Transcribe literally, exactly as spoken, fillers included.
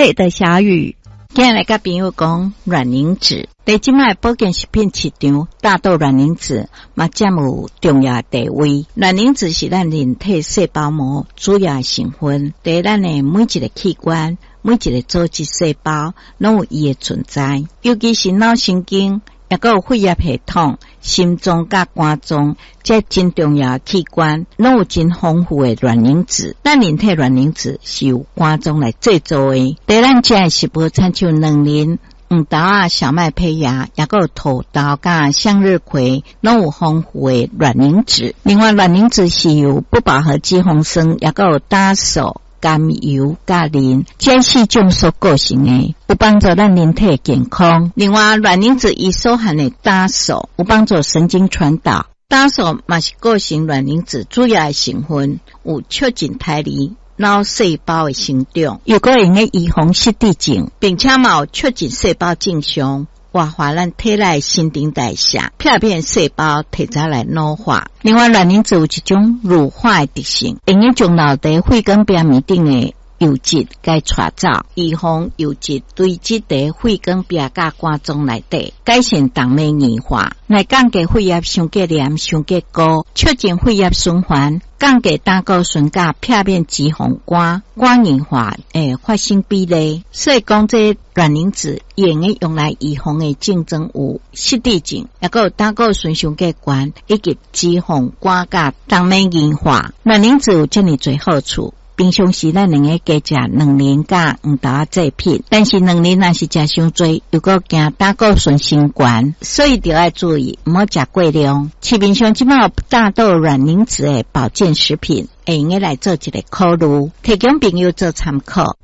對的，小雨。今日來佮朋友講卵磷脂，佇這擺保健食品市場，大豆卵磷脂嘛佔有重要地位。卵磷脂是咱人體細胞膜主要的成分，佇咱的每一个器官、每一个組織細胞，攏有伊的存在。尤其是腦神經，抑閣有血液系統、心臟佮肝臟，這真重要的器官，攏有真豐富的卵磷脂。咱人體卵磷脂是由肝臟來製造的。佇咱食的食物，親像卵磷、黃豆仔、小麥胚芽，抑閣有土豆佮向日葵，攏有豐富的卵磷脂。另外，卵磷脂是由不飽和脂肪酸，抑閣有膽素、甘油、佮磷這四種所構成的，有幫助咱人體健康。另外，卵磷脂伊所含的膽素，有幫助神經傳導。膽素嘛是構成卵磷脂主要的成分，有促進胎兒腦細胞的成長，又閣會用得預防失智症，並且嘛有促進細胞正常，活化咱體內新陳代謝，避免細胞提早來老化。另外，卵磷脂有一種乳化的特性，會用將留佇血管壁面頂的油脂共帶走，預防油脂堆積佇血管壁佮肝臟內底，改善動脈硬化，來降低血壓傷過黏、傷過高，促進血液循環，降低膽固醇佮避免脂肪肝、肝硬化的發生比例。所以講，這卵磷脂會用得用來預防的症狀有失智症，抑閣有膽固醇傷過懸，以及脂肪肝佮動脈硬化。卵磷脂有遮爾濟好處。平常時咱會用得加食卵磷佮黃豆仔製品，但是卵磷若是食傷濟，又閣驚膽固醇升懸，所以著愛注意，毋好食過量。市面上這擺有大豆卵磷脂的保健食品，會用得來做一个考慮，提供朋友做參考。